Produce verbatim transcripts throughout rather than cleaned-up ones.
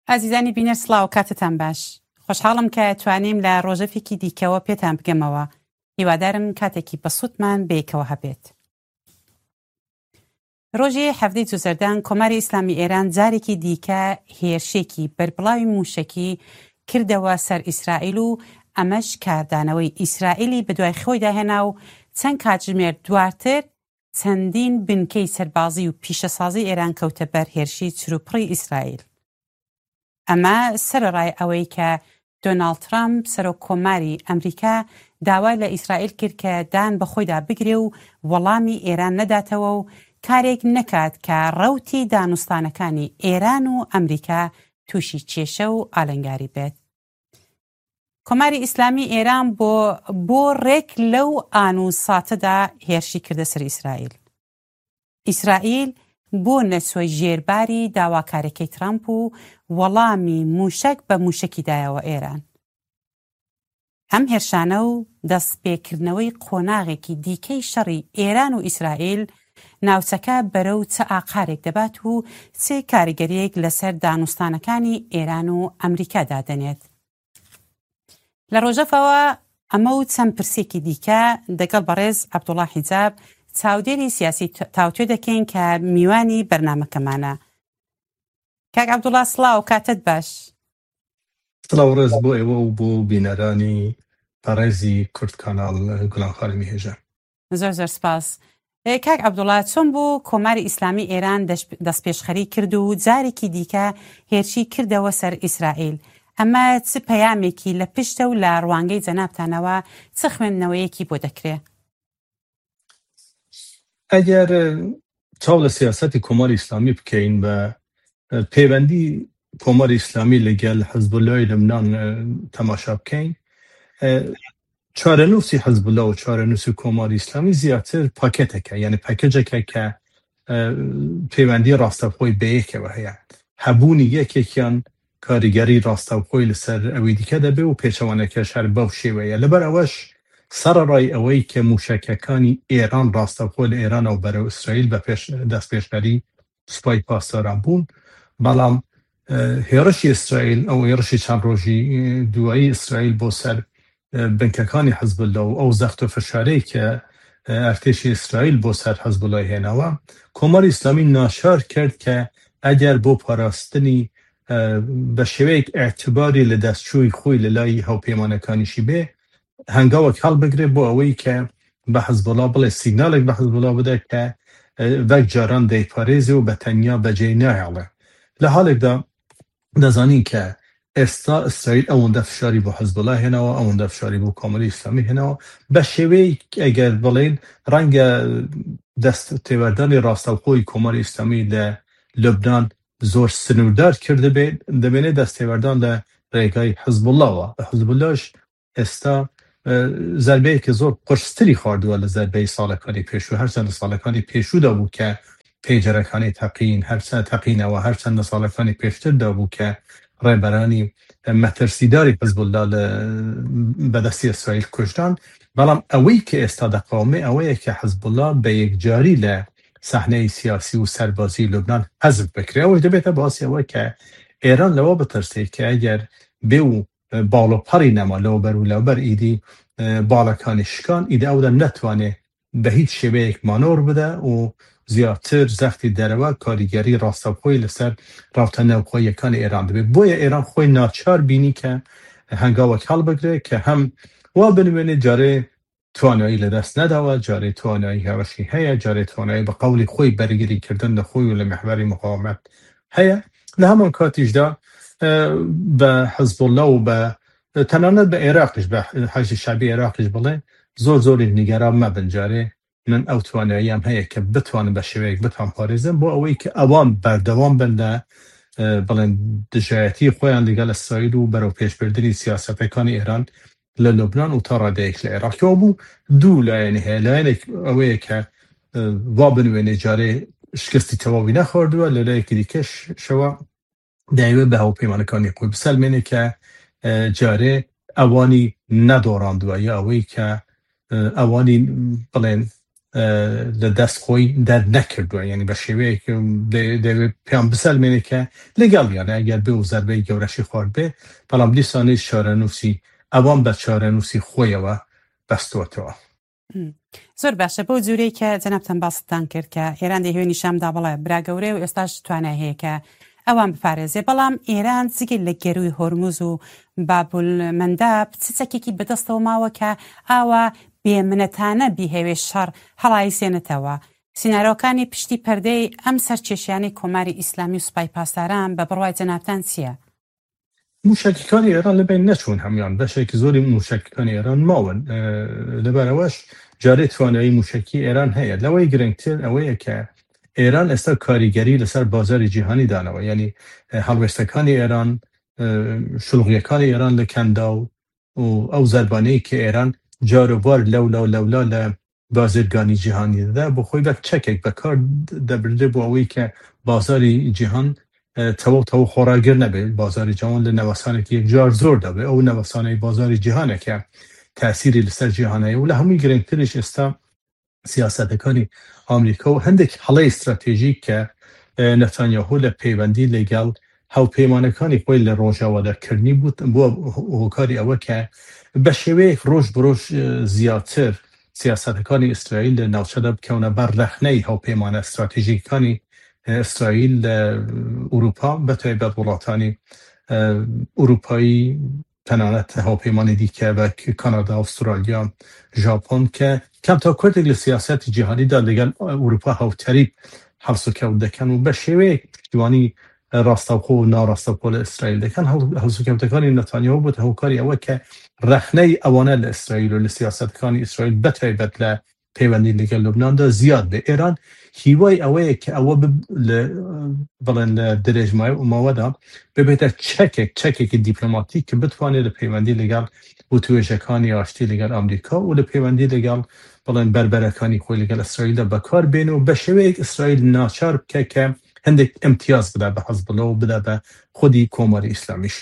ئازیزانی بینەر، سڵاو، کاتتان باش. خۆشحاڵم کە توانیم لە ڕۆژەفێکی دیکەوە پێتان بگەمەوە. هیوادارم کاتێکی بەسوودمان بەیەکەوە هەبێت. ڕۆژی حەڤدەی جوزەردان، کۆماری ئیسلامی ئێران جارێکی دیکە هێرشێکی بەربڵاوی موشەکی کردەوە سەر ئیسرائیل و ئەمەش کاردانەوەی ئیسرائیلی بەدوای خۆیدا هێنا و چەند کاتژمێر دواتر چەندین بنکەی سەربازی و پیشەسازی ئێران کەوتە بەر هێرشی چروپڕی ئیسرائیل. ئەمە سەرەڕای ئەوەی کە دۆناڵد ترامپ، سەرۆک کۆماری ئەمریکا، داوا لە ئیسرائیل کرد کە دان بە خۆیدا بگرێ و وەڵامی ئێران نەداتەوە و کارێک نەکات کە ڕەوتی دانوستانەکانی ئێران و ئەمریکا تووشی کێشە و ئالنگاری بێت. کۆماری ئیسلامی ئێران بۆ، بۆ ڕێک لەو ئان و ساتەدا هێرشی کردە سەر ئیسرائیل. ئیسرائیل بۆ نەچووە ژێرباری داواکاریەکەی ترامپ و وەڵامی موشەک بە موشەکی دایەوە ئێران. ئەم هێرشانە و دەستپێکردنەوەی قۆناغێکی دیکەی شەڕی ئێران و ئیسرائیل ناوچەکە بەرەو چ ئاقارێک دەبات و چ کاریگەریەک لەسەر دانوستانەکانی ئێران و ئەمریکا دادەنێت. لە ڕۆژەفەوە ئەمە و چەند پرسێکی دیکە دەگەڵ بەڕێز عەبدوڵا حیجاب، چاودێری سیاسی، تاوتوێ دەکەین کە میوانی بەرنامەکەمانە. کاک عەبدوڵا، سڵاو، کاتت باش. سڵاو ڕێز بۆ ئێوە و بۆ بینەرانی بەڕێزی کورد کاناڵ، گولان خانمی هێژە. زۆر زۆر سپاس. ئێ، کاک عەبدوڵا، چۆن بوو کۆماری ئیسلامی ئێران دەش-، دەستپێشخەری کرد و جارێکی دیکە هێرشی کردەوە سەر ئیسرائیل؟ ئەمە چ پەیامێکی لە پشتە و لە ڕوانگەی جەنابتانەوە چ خوێندنەوەیەکی بۆ دەکرێ؟ ئەگەر، ئە، چاو لە سیاسەتی کۆماری ئیسلامی بکەین بە، ئە، پەیوەندی کۆماری ئیسلامی لەگەل حزبولای لبنان، ئە، تەماشا بکەین، ئە، چارەنووسی حزبولا و چارەنووسی کۆماری ئیسلامی زیاتر پاکێتێکە، یعنی پاکێجێکە کە، ئە، پەیوەندی ڕاستەوخۆی بەیەکەوە هەیە. هەبوونی یەکێکیان کاریگەری ڕاستەوخۆی لەسەر ئەوی دیکە دەبێ و پێچەوانەکەش هەر بەو شێوەیە. لەبەر ئەوەش سەرەڕای ئەوەی کە موشەکەکانی ئێران ڕاستەوخۆ لە ئێرانەوە بەرەو ئیسرائیل بە پێش، دەستپێشخەری سوپای پاسداران بوون، بەڵام، ئە، هێرشی ئیسرائیل، ئەو هێرشی چەند ڕۆژی، ئە، دوایی ئیسرائیل بۆ سەر، ئە، بنکەکانی حزبوللا و ئەو زەخت و فشارەی کە، ئە، ئەرتێشی ئیسرائیل بۆ سەر حزبولای هێناوە، کۆماری ئیسلامی ناچار کرد کە ئەگەر بۆ پاراستنی، ئە، بە شێوەیەک ئەعتباری لە دەستچووی خۆی لە لای هاوپەیمانەکانیشی بێ، هەنگاوەک هەڵبگرێ بۆ ئەوەی کە بە حزبوڵا بڵێ، سیگنالێک بە حزبوڵا بدە کە، ئە، وەک جاران دەیپارێزێ و بە تەنیا بەجێی ناهێڵێ. لە حالێکدا دەزانین کە ئێستا ئیسرائیل ئەوەندە فشاری بۆ حزبوڵا هێناوە، ئەوەندە فشاری بۆ کۆماری ئیسلامی هێناوە، بە شێوەیەک ئەگەر بڵێن ڕەنگە دەست تێوەردانی ڕاستەوخۆی کۆماری ئیسلامی لە لبنان زۆر سنووردار کردبێ، دەمێنێ دەست تێوەردان لە ڕێگای حزبوڵاوە. حزبوڵاش ئێستا، ئە، زەربەیەکی زۆر قورستری خواردووە لە زەربەی ساڵەکانی پێشوو. هەرچەند لە ساڵەکانی پێشوودا بوو کە پەیجەرەکانی تەقین، هەرچەند تەقینەوە، هەرچەند لە ساڵەکانی پێشتردا بوو کە ڕێبەرانی مەترسیداری حزبوڵا لە بەدەستی ئیسرائیل کوژران. بەڵام ئەوەی کە ئێستا دەقاومێ ئەوەیە کە حزبوڵا بە یەکجاری لە سەحنەی سیاسی و سەربازی لوبنان حەزف بکرێ. ئەوەش دەبێتە باسی ئەوە کە ئێران لەوە بترسێ کە ئەگەر بێ و باڵۆپەڕی نەما لەوبەر و لەوبەر ئیدی، ئە، باڵەکانی شکان، ئیدی ئەودا نەتوانێ بە هیچ شێوەیەک مانۆر بدە و زیاتر زەختی دەرەوە کاریگەری ڕاستەوخۆی لەسەر ڕاوتە ناوخۆیەکانی ئێران دەبێت. بۆیە ئێران خۆی ناچار بینی کە هەنگاوەک هەڵبگرێ کە هەم وا بنوێنێ جارێ توانایی لەدەست نەداوە، جارێ توانایی هێرشی هەیە، جارێ توانایی بە قەولی خۆی بەرگری کردن لە خۆی و لە محوەری مقاومەت هەیە. لە هەمان کاتیشدا، ئە، بە حزبوڵا و بە، تەنانەت بە عێراقیش، بە حەشدی شعبی عێراقیش بڵێ، زۆر زۆریش نیگەران مەبن، جارێ من ئەو تواناییان هەیە کە بتوانم بە شێوەیەک بتوان پارێزم بۆ ئەوەی کە ئەوان بەردەوام بن لە، ئە، بڵێن دژایەتی خۆیان لەگەڵ ئیسرائیل و بەرەو پێشبردنی سیاسەتەکانی ئێران لە لوبنان و تا ڕادەیەک لە عێراقەوە بوو. دوو لایەنی هەیە، لایەنێک ئەوەیە کە، ئە، وا بنوێنێ جارێ شکستی تەواوی نەخواردووە، لە لایەکی دیکەش شەوە دەیەوێت بە هاوپەیمانەکانی خۆی بسەلمێنێ کە، ئە، جارێ ئەوانی نەدۆڕاندووە یا ئەوەی کە، ئە، ئەوانی بڵێن e, li dest xwe dernekirdwe. Yanî bi şêweyek dê-, dê pêyan biselmêne ke li gel, yanî eger bê û zerbeyê gewreşî xward bê, belam dîsanî çarenûsî, ewan be çarenûsî xwe ye we bestotewa. Hmm. زۆر باشە، بەو جوورەی کە جەنابتان باستان کرد کە ئێران دەیهوێ نیشان بدا، بەڵێ برا گەورەیە و ئێستاش توانای هەیە کە ئەوان بپارێزێ. بەڵام ئێران جگە لە گەرووی هۆرموز و بابل مەنداب چ چەکێکی بەدەستەوە ماوە کە ئاوا بێمنەتانە بیهەوێ شەڕ هەڵایسێنێتەوە؟ سینارۆکانی پشتی پەردەی ئەم سەرکێشیانەی کۆماری ئیسلامی و سوپای پاسداران بە بڕوای جەنابتان چییە؟ موشەکیکانی ئێران لە بین نەچوون هەمویان، بەشێکی زۆری موشەکیکانی ئێران ماون. لەبەرەوەش جارێ توانایی موشەکی ئێران هەیە. لەوەی گرنگتر ئەوەیە کە ئێران ئێستا کاریگەری لەسەر بازاری جیهانی دانەوە، یعنی هەڵوێستەکانی ئێران، شلوغیەکانی ئێران لە کەندا و و ئەو زەربانەی کە ئێران جاروبار لەولا و لەولا لە بازرگانی جیهانی دەدا، بۆ خۆی وەک چەکێک بەکار دەبردێ بۆ ئەوەی کە بازاری جیهان تەواو تەواو خۆڕاگر نەبێت. بازاری جیهان لە نەوەسانێکی یەکجار زۆر دەبێت. ئەو نەوەسانەی بازاری جیهانە کە تاسیری لەسەر جیهانەیە و لە هەمووی گرنگتریش ئێستا سیاسەتەکانی ئامریکا و هەندێک هەڵەی استراتێژیک کە نەتانیاهۆ لە پەیوەندی لەگەڵ هاوپەیمانەکانی خۆی لە ڕۆژاوادا کردنی بوو، بووە هۆکاری ئەوە کە بە شێوەیەک ڕۆژ بە ڕۆژ زیاتر سیاسەتەکانی ئیسرائیل لە ناوچەدا بکەونە بەر ڕەخنەی هاوپەیمانە استراتێژیکانی ئیسرائیل لە ئوروپا، بە تایبەت وڵاتانی ئوروپایی، تەنانەت هاوپەیمانی دیکە وەک کانادا، ئوسترالیا، ژاپۆن کە کەم تا کورتێک لە سیاسەتی جیهانیدا لەگەڵ ئوروپا هاوتەریب هەڵسوکەوت دەکەن و بە شێوەیەک پشتیوانی ڕاستەوخۆ و ناڕاستەوخۆ لە ئیسرائیل دەکەن. هەڵ-، هەڵسوکەوتەکانی نەتانیاهۆ بووە هۆکاری ئەوە کە ڕەخنەی ئەوانە لە ئیسرائیل و لە سیاسەتەکانی ئیسرائیل بە تایبەت لە پەیوەندی لەگەڵ لوبناندا زیاد بێ. ئێران هیوای ئەوەیە کە ئەوە بب-، لە، بڵێن لە درێژماوەدا ببێتە چەکێک، چەکێکی دیپلۆماتیک کە بتوانێت لە پەیوەندی لەگەڵ وتوێژەکانی ئاشتی لەگەڵ ئەمریکا و لە پەیوەندی لەگەڵ، بڵێن، بەربەرەکانی خۆی لەگەڵ ئیسرائیلدا بەکار بێن و بە شێوەیەک ئیسرائیل ناچار بکە کە هەندێک ئیمتیاز بدا بە حەزبڵە و بدا بە خودی کۆماری ئیسلامیش.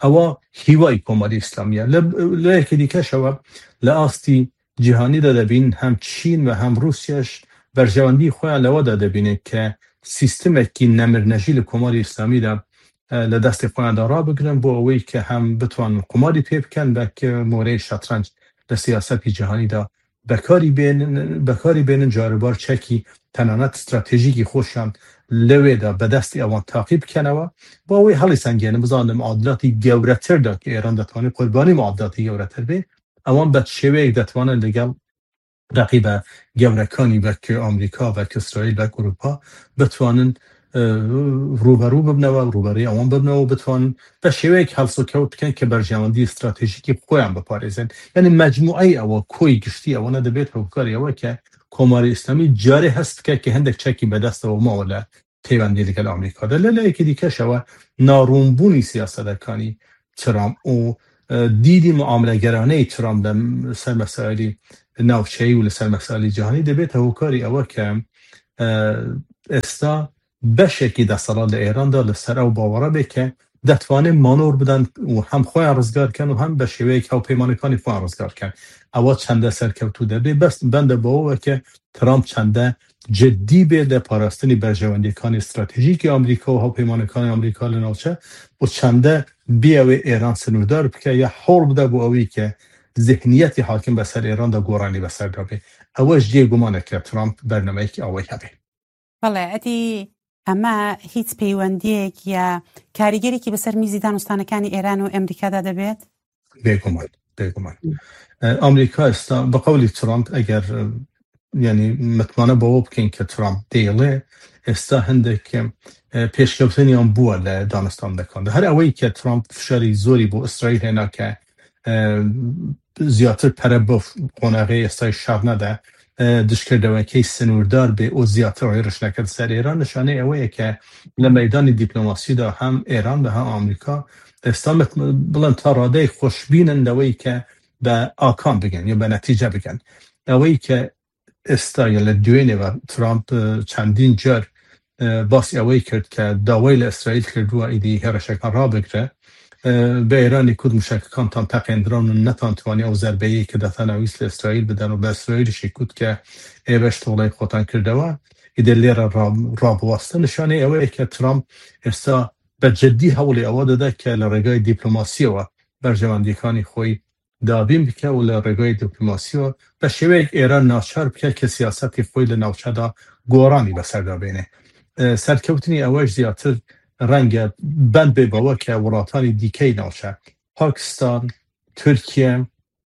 ئەوە هیوای کۆماری ئیسلامیە. لە، لە یەکی دیکەشەوە لە ئاستی جیهانیدا دەبین هەم چین و هەم رووسیاش بەرژەوەندی خۆیان لەوەدا دەبینێت کە سیستمێکی نەمرنەژی لە کۆماری ئیسلامیدا، ئە، لە دەستی خۆیاندا ڕابگرن بۆ ئەوەی کە هەم بتوانن قوماری پێ بکەن، بەک مۆرەی شەترەنج لە سیاسەتی جیهانیدا بەکاری بێنن، بەکاری بێنن، جاروبار چەکی تەنانەت استراتێژیکی خۆشیان لەوێدا بەدەستی ئەوان تاقی بکەنەوە، بۆ ئەوەی هەڵی سەنگێنن، بزانن لە معادلاتی گەورەتردا کە ئێران دەتوانێت قوربانی معادلاتی گەورەتر بێ، ئەوان بە شێوەیەک دەتوانن لەگەڵ ڕەقیبە گەورەکانی وەک ئەمریکا، وەک ئیسرائیل، وەک ئوروپا بتوانن، ئە، ڕوبەڕوو ببنەوە، ڕوبەڕووی ئەوان ببنەوە، بتوانن بە شێوەیەک هەڵسوکەوت بکەن کە بەرژەوەندی استراتێژیکی خۆیان بپارێزن. یعنی مەجموعەی ئەوە، کۆی گشتی ئەوەنە دەبێت هۆکاری ئەوە کە کۆماری ئیسلامی جارێ هەست بکە کە هەندێک چەکی بەدەستەوە ماوە لە پەیوەندی لەگەڵ ئەمریکادا. لە لایەکی دیکەشەوە ناڕوونبوونی سیاسەتەکانی ترامپ و، ئە، دیدی معاملەگەرانەی ترامپ لە سەر مەسائلی ناوچەیی و لەسەر مەسائلی جیهانی دەبێتە هۆکاری ئەوە کە، ئە، ئێستا بەشێکی دەسەڵات لە ئێراندا لەسەر ئەو باوەڕە بێ کە دەتوانێت مانۆر بدەن و هەم خۆیان ڕزگار کەن و هەم بە شێوەیەک هاوپەیمانەکانی خۆیان ڕزگار کەن. ئەوە چەندە سەرکەوتوو دەبێ؟ بەس بەندە بەوەوە کە ترامپ چەندە جدی بێ لە پاراستنی بەرژەوەندیەکانی استراتێژیکی ئەمریکا و هاوپەیمانەکانی ئەمریکا لە ناوچە و چەندە بیاوێ ئێران سنووردار بکە یا هەوڵ بدە بۆ ئەوەی کە ذهنیەتی حاکم بەسەر ئێراندا گۆڕانی بەسەردا بێ. ئەوەش جێ گومانە کە ترامپ بەرنمەیەکی ئەوەی هەبێ. بەڵێ، ئەدی ئەمە هیچ پەیوەندیەک یا کاریگەرێکی بەسەر میزی دانوستانەکانی ئێران و ئەمریکادا دەبێت؟ بێگومان، بێگومان. ئە، ئەمریکا ئێستا بە قەولی ترامپ، ئەگەر، ئە، یعنی متمانە بەوە بکەین کە ترامپ دەیڵێ، ئێستا هەندێک، ئە، پێشکەوتنیان بووە لە دانوستاندەکاندا. هەر ئەوەی کە ترامپ فشاری زۆری بۆ ئیسرائیل هێنا کە، ئە، زیاتر پەرە بۆ قۆناغی ئێستای شەڕ نەدە، ئە، دژکردەوەکەی سنووردار بێ و زیاتر ڕێژنەکە سەر ئێران، نیشانەی ئەوەیە کە لە مەدانی دیپلۆماسیدا هەم ئێران و هەم ئەمریکا ئێستا مت-، بڵێن تا ڕادەیەک خۆشبینن لەوەی کە بە ئاکام بگەن یا بە نەتیجە بگەن. ئەوەی کە ئێستا یا لە دوێنێ و ترامپ، ئە، چەندین جار، ئە، باسی ئەوەی کرد کە داوای لە ئیسرائیل کردووە ئیدی هێرشەکان ڕابگرە، e, bi Îranê ku di muşekikan tan teqêndiran û netan tiwanî ew zerbeyê ke deta navîs li Îsraîl bidin û bi Îsraîlî jî ku dike ê beş toleyê xotan kirdewa, îdê lê re ra-, rabiwaste. Nişanê ew ye ke Trump êsta bi cidî hewlê ewa dide ke li rêgayê dîplomasiyê we berjewendiyekanî xwe yî dabîn bike û li rêgayê dîplomasiyê we bi şêweyek Îran naçar bike ke siyasetê xwe yî li navçe de goranî be ser de bêne. E, serkewtinî ewe ji ziyartir renge bend bê bawe ke welatanî dîkeyî navçe, Pakistan, Tirkiye,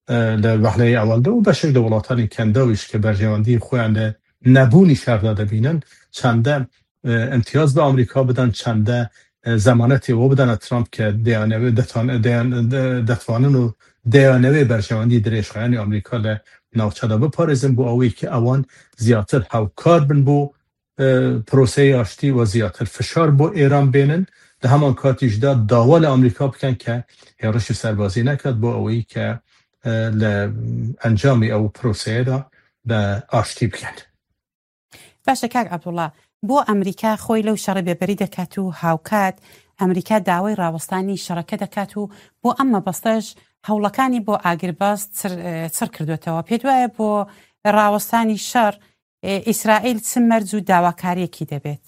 e, li wehleyê ewel de û beşek li welatanê kenda wî ji ke berjewendiyê xwe yan li nebûnî şer de dibînin, çende, e, imtiyaz bi Amerîka bidin, çende, e, zemanetê we bidene Trump ke deyaneve detan-, deyan-, de-, detvanin û deyanevê berjewendî dirêjxeyanê Amerîka li navçe de biparêzin, bo awê ke ewan ziyatir hewkar bin bo e, proseyê aştî we ziyatir fişar bo Êran bênin, di heman katî jî de dawa li Amerîka bikin ke hêrişî serbazî nekat bo eweyî ke, e, li encamê ew proseyê de bi aştî bikin. Baş e kak Abdullah, بۆ ئەمریکا خۆی لەو شەڕە بێبەری دەکات و هاوکات ئەمریکا داوای ڕاوەستانی شەڕەکە دەکات و بۆ ئەم مەبەستەش هەوڵەکانی بۆ ئاگرباز چڕ کردوێتەوە. پێت وایە بۆ ڕاوەستانی شەڕ ئیسرائیل چ مەرج و داواکاریەکی دەبێت؟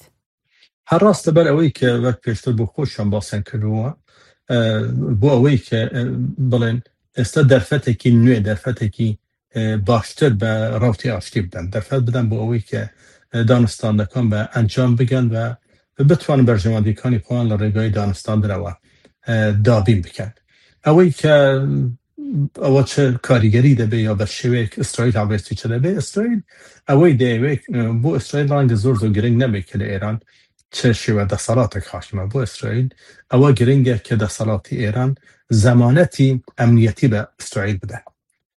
هەر ڕاستە، بەر ئەوەی کە وەک پێشتر بۆ خۆشیان باسیان کردووە، بۆ ئەوەی کە بڵێن ئێستا دەرفەتێکی نوێ، دەرفەتێکی باشتر بە ڕەوتی ئاشتی بدەن، دەرفەت بدەن بۆ ئەوەی کە دانوستاندەکان بە ئەنجام بگەن و بتوان بەرژەوەندیەکانی خۆیان لە ڕێگای دانوستاندنەوە دابین بکەن. ئەوەی کە ئەوە چه کاریگەری دەبێ یا بە شێوەیەک ئیسرائیل هاوێستی چه دەبێ؟ ئیسرائیل ئەوەی دەیەوێت، بۆ ئیسرائیل ڕەنگە زۆر زۆر گرنگ نەبێت کە لە ئێران چه شێوە دەسەڵاتێک حاکمە. بۆ ئیسرائیل ئەوە گرنگە کە دەسەڵاتی ئێران زەمانەتی ئەمنیەتی بە ئیسرائیل بدە.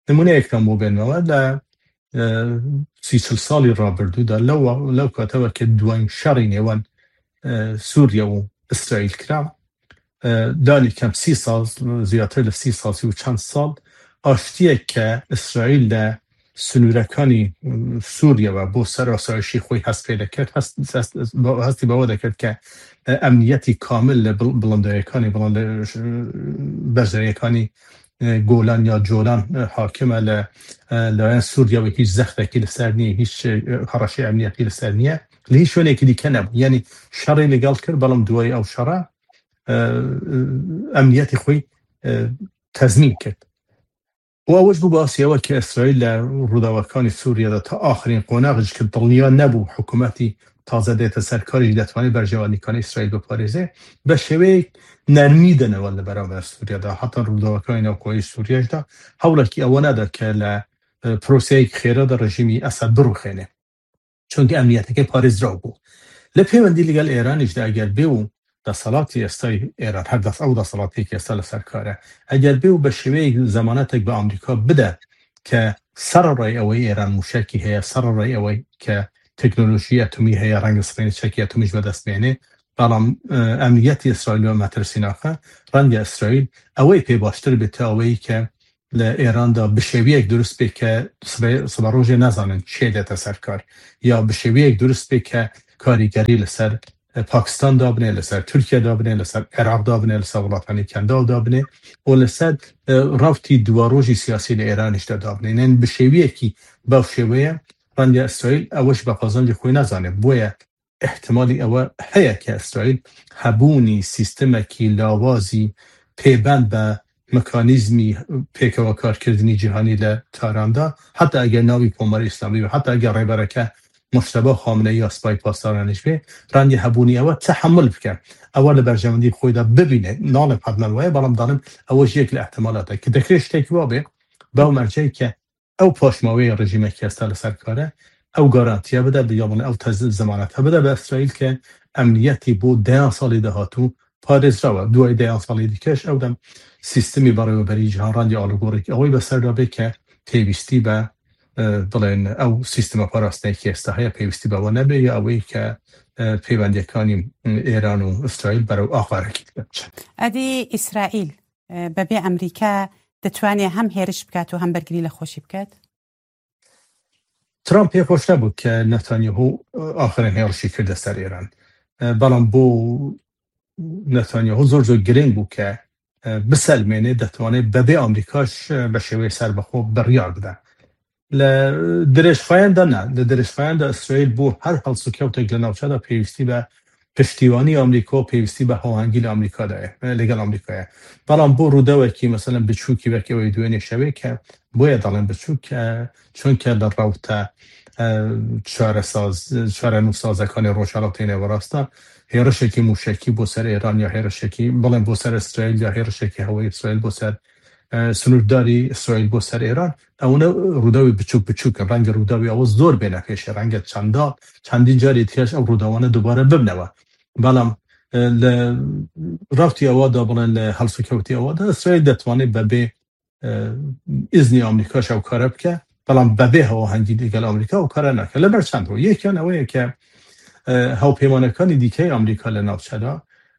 نمونەیەکتان بۆ بێنمەوە، لە سی چل ساڵی ڕابردوودا، لەو لەو کاتەوە کە دوایین شەڕی نێوان سووریا و ئیسرائیل کرا، لانی کەم سی ساڵ، زیاتر لە سی ساڵ، سی و چەند ساڵ، ئاشتیەک کە ئیسرائیل لە سنوورەکانی سووریەوە بۆ سەر ئاسایشی خۆی هەست پێ دەکرد، هەستی بەوە دەکرد کە ئەمنیەتی کامل لە بڵندەیەکانی بڵندە بەرزەیەکانی گۆلان یا جۆلان حاکمە لە لایەن سووریەوە، هیچ زەختێکی لەسەر نییە، هیچ هەڕەشەی ئەمنیەتی لەسەر نییە، لە هیچ شوێنێکی دیکە نەبوو. یعنی شەڕی لەگەڵ کرد، بەڵام دوای ئەو شەڕە ئەمنیەتی خۆی تەزمین کرد. و ئەوەش بوو باسیەوە کە ئیسرائیل لە ڕووداوەکانی سووریەدا تا ئاخرین قۆناغ، چونکە دڵنیا نەبوو حکوومەتی تازە دێتە سەرکاریش دەتوانێت بەرژەوەندیکانی ئیسرائیل بپارێزێ، بە شێوەیەک نەرمی دەنەوە لە بەرامبەر سووریەدا، حتا ڕووداوەکانی ناوخۆیی سووریەشدا هەوڵێکی ئەوە نەدا کە لە پرۆسەیەک خێرا دە ڕژیمی ئەسەد بڕوخێنێ، چونکە ئەمنیەتەکەی پارێزراو بوو. لە پەیوەندی لەگەڵ ئێرانیشدا ئەگەر بێ و دەسەڵاتی ئێستای ئێران، هەر دەس ئەو دەسەڵاتێکی ئێستا لەسەر کارە، ئەگەر بێ و بە شێوەیەک زەمانەتێک بە ئەمریکا بدە کە سەرەڕای ئەوەی ئێران موشەکی هەیە، سەرەڕای ئەوەی کە تەکنۆلۆژی ئەتومی هەیە، ڕەنگە سبەینێ چەکی ئەتومیش بەدەست بێنێ، بەڵام ئەمنیەتی ئیسرائیل بە مەترسیناکە، ڕەنگە ئیسرائیل ئەوەی پێ باشتر بێت تا ئەوەی کە لە ئێراندا بشێویەک دروست بێ کە سبە ڕۆژێ نازانن چێ دێتە سەر کار، یا بشێویەک دروست بێ کە کاریگەری لەسەر پاکستان دابنێ، لەسەر تورکیا دابنێ، لەسەر عێراق دابنێ، لەسەر وڵاتانی کەنداو دابنێ و لەسەر ڕەوتی دوواڕۆژی سیاسی لە ئێرانیشدا دابنێ. یعنی بشێویەکی بەو شێوەیە ڕەنگە ئیسرائیل ئەوەش بە قازانجی خۆی نازانێ. بۆیە ئیحتیمالی ئەوە هەیە کە ئیسرائیل هەبوونی سیستمێکی لاوازی پێبەند بە مکانیزمی پێکەوە کارکردنی جیهانی لە تاراندا، حتا ئەگەر ناوی کۆماری ئیسلامی و حتا ئەگەر ڕێبەرەکە مشتبا خامنەی یا سپای پاسدارانیش بێ، ڕەنگە هەبوونی ئەوە تەحەمل بکە، ئەوە لە بەرژەوەندی خۆیدا ببینێ. ناڵێ حەتمەن وایە، بەڵام دەڵێم ئەوە یەک لە ئەحتیمالاتە کە دەکرێت شتێکی وا بێ، بەو مەرجەی کە ئەو پاشماوەی ڕژیمێکی ئێستا لەسەر کارە ئەو گارانتیە بدە، یا بڵێ ئەو تەز-، زەمانەتە بدە بە ئیسرائیل کە ئەمنیەتی بۆ دەیان ساڵی داهاتوو پارێزراوە. دوای دەیان ساڵی دیکەش ئەو دەم سیستمی بەڕێوەبەری جیهان ڕەنگە ئاڵوگۆڕێکی ئەوەی بەسەردا بێ کە پێویستی بە، ئە، بڵێن ئەو سیستمە پاراستنێکی ئێستا هەیە، پێویستی بەوە نەبێ، یا ئەوەی کە، ئە، پەیوەندیەکانی ئێران و ئیسرائیل بەرەو ئاخارێکی بچن. ئەدی ئیسرائیل، ئە، بەبێ ئەمریکا دەتوانێت هەم هێرش بکات و هەم بەرگری لە خۆشی بکات؟ ترامپ پێ خۆش نەبوو کە نەتانیاهو ئاخرین هێرشی کردە سەر ئێران. ئە، بەڵام بۆ نەتانیاهو زۆر زۆر گرنگ بوو کە e, biselmêne, detwanê bebê Amerîkaş, e, be şêweyê serbexwe biryar bide. Li dirêjxayan de ne. Li dirêjxayan de Îsraîl bo her helsûkewtek li navçe de pêwîstî be piştîwanî Amerîka û pêwîstî be hawahengî li Amerîka de ye, e, li gel Amerîka ye. Belam bo rûdewekî, meselen, biçûkî wek ew ê duênê şevê ke, boye dalên biçûk, e, çunke li rewte, e, çaresaz-, çarenûsazekanê Rojhilata Nêwerast de hêrişekî mûşekî bo ser Êran ya hêrişekî, bilên bo ser Îsraîl ya hêrişekî hewayî Îsraîl bo ser, e, sinûrdarî Îsraîl bo ser Êran, ewne rûdawî biçûk biçûk in. Renge rûdawî ew zor bêne pêşê, renge çenda, çendîn carî dîkeş ew rûdawane dubare bibnewe. Belam, e, li rewtî ewa de, bilên li helsûkewtî ewa de, Îsraîl detwanê bebê, e, îznî Amerîka ji ew kare bike, belam bebê hawahengî digel Amerîka ew kare nake. Li ber çend rû. Yekiyan ew ye ke, e, hawpêmanekanî dîkeyê Amerîka li navçe de,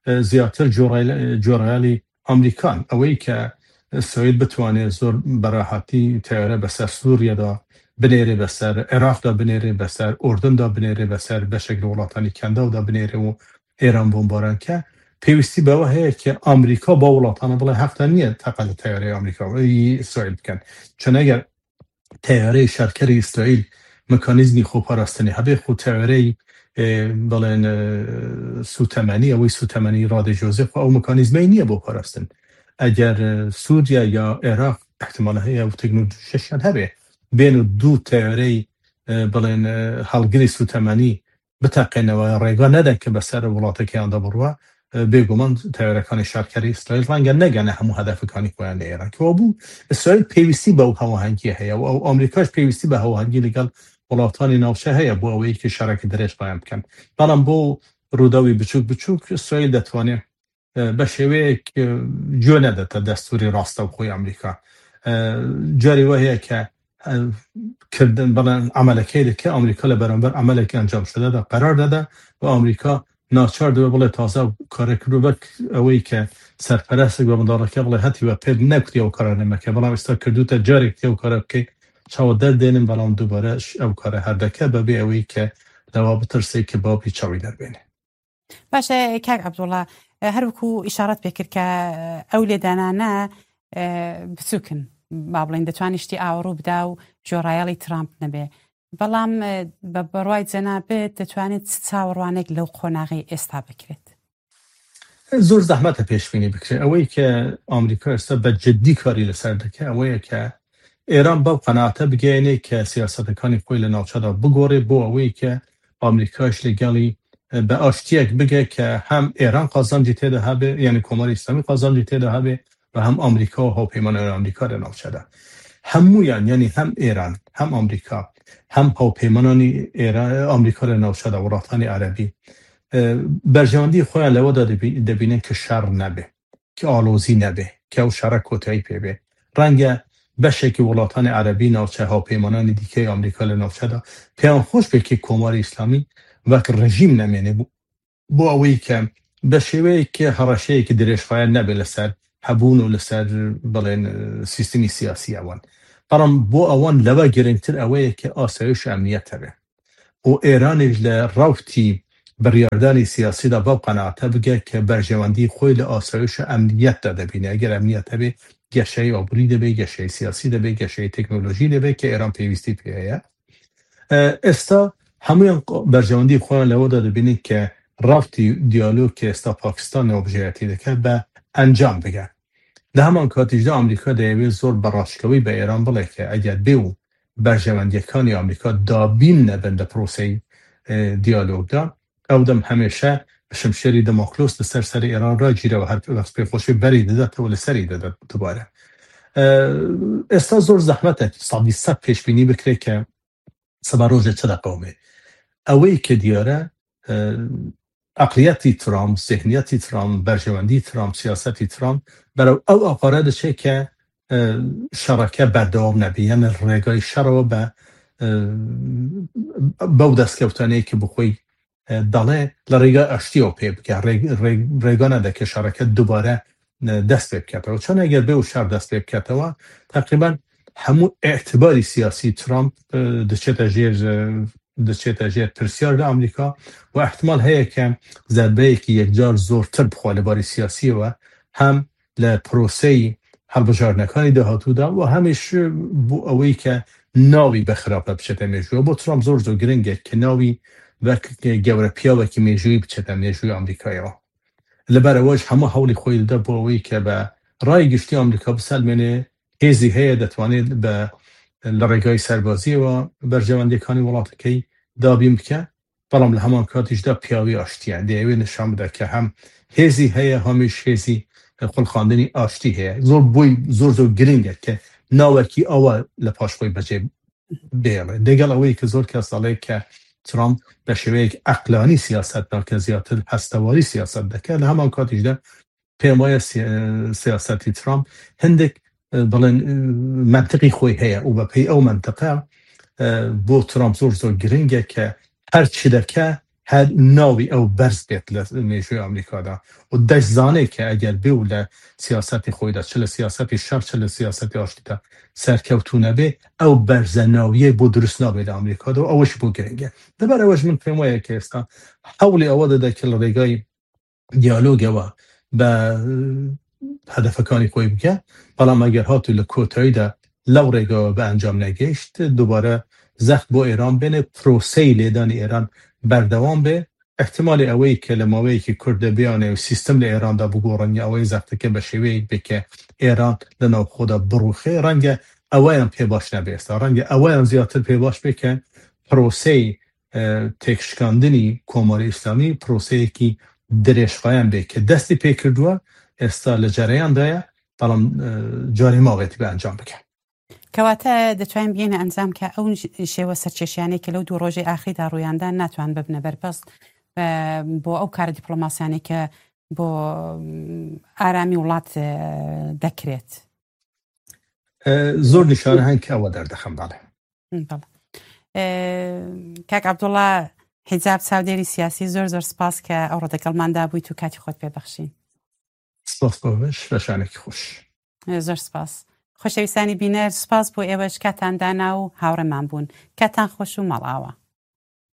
e, ziyadtir corayl-, corayalî Amerîkan. Ew ê ke Îsraîl bitwane zor bi rehatî teyare be ser Sûriye de binêre, be ser Iraq de binêre, be ser Urdun de binêre, be ser beşek li welatanî Kendaw de binêre û Êran bombaran ke, pêwîstî be we heye ke Amerîka ba welatana bile hefta niye teqe li teyareyê Amerîka, yî Îsraîl bikin. Çun eger teyareyê şerkerê Îsraîl mekanîzmî xwe parastinê hebe, xwe teyareyê, e, belên, e, sûtemenî, ew sûtemenî radê Joseph, ew mekanîzmeyê niye bo parastin. Eger, e, Sûriye ya Iraq, ihtimala heye ew teknolojiyan hebe, bên û du teyareyê, e, belên, e, halgirê sûtemenî biteqêne we, rêga neden ke be ser welatekê yan de birwe, e, bêguman teyarekanê şerkerê Îsraîl renge negene hemû hedefekanî xwe yan li Êran. Ke wabû, Îsraîl pêwîstî be ew hawahengiyê heye û ew Amerîka jî pêwîstî be hawahengî li gel welatanê navçe heye bo ew ê ke şereke dirêj qeyem bikin. Belam bo rûdawî biçûk biçûk Îsraîl detwanê, e, be şêweyek, e, cû nedete destûrê rastewxoyê Amerîka. E, carî we heye ke, e, kirdin, bela emelekê dike, Amerîka li beramber emelekê encam şide de qerar dede û Amerîka naçar dibe bile taze ew kare kiriyo. Wek ew ê ke serperestek be, mendaleke bile hetî we pê nekutiye ew kare nemeke. Belam êsta kirdûte carek diye ew kare bike. Çawa derdênin, belam dubare ş-, ew kare herdeke bebê ew ê ke lewa bitirsê ke babî çawî derbêne. Baş e, kak Abdullah, e, her wekû îşaret pê kir ke, e, ew lêdanane, e, biçûk in. Ba bilên, detwanî ştî awirû bida û jorayalî Trump nebe. Belam, e, be, be rway cenabit, detwanî çi çawarwanek lew qonaxî êsta bikirêt? Zor zehmet e pêşbînî bikirê. Ew ê ke Amerîka êsta be ciddî karî li ser dike, ew ê ke Êran bev qenaate bigeyne ke siyasetekanî xwe li navçe de bigore, bo ew ê ke Amerîka ji li gelî, e, be aştiyek bige ke hem Êran qazancî tê de hebe, yanî Komarê Îslamî qazancî tê de hebe ve hem Amerîka û hawpeymananê Amerîka li navçe de. Hemûyan, yanî hem Êran, hem Amerîka, hem hawpeymananî Êra-, Amerîka li navçe de, welatanê Erebî, e, berjewendî xwe ya lewe de dibî-, dibînin ke şer nebe, ke alozî nebe, ke ew şere kotayî pê bê. Renge beşekî welatanê Erebî navçe hawpeymananê dîkeyê Amerîka li navçe de pêyan xweş be ke Komarê Îslamî wek rejîm nemêne. Bo, bo ew ê ke be şêweyeke hereşeyeke dirêjxayan nebe li ser hebûn û li ser, belên, e, sîstemî siyasî ewan. Belam bo ewan lewe girîngtir ew ê ke asayiş û emniyet hebe. Û Êranê ji li rewtî biryardanê siyasî de bev qenaate bige ke berjewendî xwe li asayiş û emniyet de dibîne. Eger emniyet hebe, geşeyê aborî de be, geşeyê siyasî de be, geşeyê teknolojî de be ke Êran pêwîstî pê heye. E, êsta hemûyan berjewendî xwe yan lewe de dibînin ke rewtî diyalog ke êsta Pakistan navbijêretî dike be encam bige. Di heman katî jî de Amerîka diyawê zor bi raştkewî bi Êran bile ke eger bê û berjewendiyekanê Amerîka dabîn nebin di proseyê, e, diyalog de, ew dem hemêşe bi şimşêrî Damoklos li ser serê Êran re cîre û her wext pêxweşî berî dide û li serî dide dubare. E, êsta zor zehmet e sedî sed pêşbînî bikire ke sibe rojê çi deqewime. Ew ê ke diyar e, e, eqliyetî Trump, zihniyetî Trump, berjewendî Trump, siyasetî Trump, berew ew aqare diçe ke, e, şereke berdewam nebe. Yanî rêgayî şer be, e, bew destkeftaneyê ke bi xwe, e, dale li rêga aştiya pê bike. Rê-, rê-, rêga nede ke şereke dubare, e, dest pê biketewe. Çend eger bê û şer dest pê biketewe, teqrîben hemû îtibarî siyasî Trump, e, diçête jêr, e, diçête jêr pirsyar li Amerîka û ihtimal heye ke zerbeyekî yekcar zortir bixwe li barî siyasiyê we hem لە پرۆسەی هەڵبژاردنەکانی داهاتوودا و هەمیش بۆ ئەوەی کە ناوی بە خراپە بچێتە مێژووە. بۆ ترامپ زۆر زۆر گرنگە کە ناوی وەک گەورە پیاوێکی مێژووی بچێتە مێژووی ئەمریکایەوە. لەبەرەوەش هەموو هەوڵی خۆی دەدا بۆ ئەوەی کە بە ڕای گشتی ئەمریکا بسەلمێنێ هێزی هەیە، دەتوانێت بە لە ڕێگای سەربازیەوە بەرژەوەندیەکانی وڵاتەکەی دابین بکە، بەڵام لە هەمان کاتیشدا پیاوی ئاشتیە، دەیەوێت نیشان بدە کە هەم هێزی هەیە، هەمیش هێزی خولقاندنی ئاشتی هەیە. زۆر بۆی زۆر زۆر گرنگە کە ناوەکی ئەوە لە پاش خۆی بەجێ بێڵێ. دەگەڵ ئەوەی کە زۆر کەس دەڵێ کە ترامپ بە شێوەیەک عەقلانی سیاست ناکە، زیاتر هەستەواری سیاست دەکە، لە هەمان کاتیشدا پێم وایە سی-، سیاسەتی ترامپ هەندێک، بڵێن، منتقی خۆی هەیە و بە پێی ئەو منتقە بۆ ترامپ زۆر زۆر گرنگە کە هەر چی دەکە هەر ناوی ئەو بەرز بێت لە مێژووی ئەمریکادا و دەشزانێت کە ئەگەر بێ و لە سیاسەتی خۆیدا، چ لە سیاسەتی شەر، چ لە سیاسەتی ئاشتیدا سەرکەوتوو نەبێ، ئەو بەرزە ناویە بۆ دروست نابێت لە ئەمریکادا و ئەوەش بۆ گرنگە. لەبەر ئەوەش من پێم وایە کە ئێستا هەوڵی ئەوە دەدا کە لە ڕێگای دیالۆگەوە بە هەدەفەکانی خۆی بکە، بەڵام ئەگەر هاتوو لە کۆتاییدا لەو ڕێگەوە بە ئەنجام نەگەیشت، دووبارە زەخت بۆ ئێران بێنێ، پرۆسەی لێدانی ئێران بەردەوام بێ، احتمالی ئەوەی کە لە ماوەیەکی کورتدا بیانێ و سیستم لە ئێراندا بگۆڕن یا ئەوەی زەختەکە بە شێوەیەک بێ کە ئێران لە ناوخۆدا بڕوخێ، ڕەنگە ئەوەیان پێ باش نەبێ. ئێستا ڕەنگە ئەوەیان زیاتر پێ باش بێ کە پرۆسەی تێکشکاندنی کۆماری ئیسلامی پرۆسەیەکی درێژخایەن بێ کە دەستی پێ کردووە، ئێستا لە جەرەیاندایە، بەڵام جارێ ماوێتی بە ئەنجام بکە. کەواتە دەتوانین بگەینە ئەنجام کە ئەو شێوە سەرکێشیانەی کە لەو دوو ڕۆژەی ئاخیردا ڕوویاندا ناتوان ببنە بەربەست بۆ ئەو کارە دیپلۆماسیانەی کە بۆ ئارامی وڵات دەکرێت. زۆر نیشانە هەن کە ئەوە دەردەخەن. باڵێ کاک عبدوڵا حیجاب، چاودێری سیاسی، زۆر زۆر سپاس کە ئەوڕۆ دەگەڵماندا بوویت و کاتی خۆت پێ بەخشین. سپاس بۆ بەش بەشانێکی خۆش. زۆر سپاس. خۆشەویستانی بینەر، سپاس بۆ ئێوەش کاتان دانا و هاوڕێمان بوون. کاتان خۆش و ماڵاوە.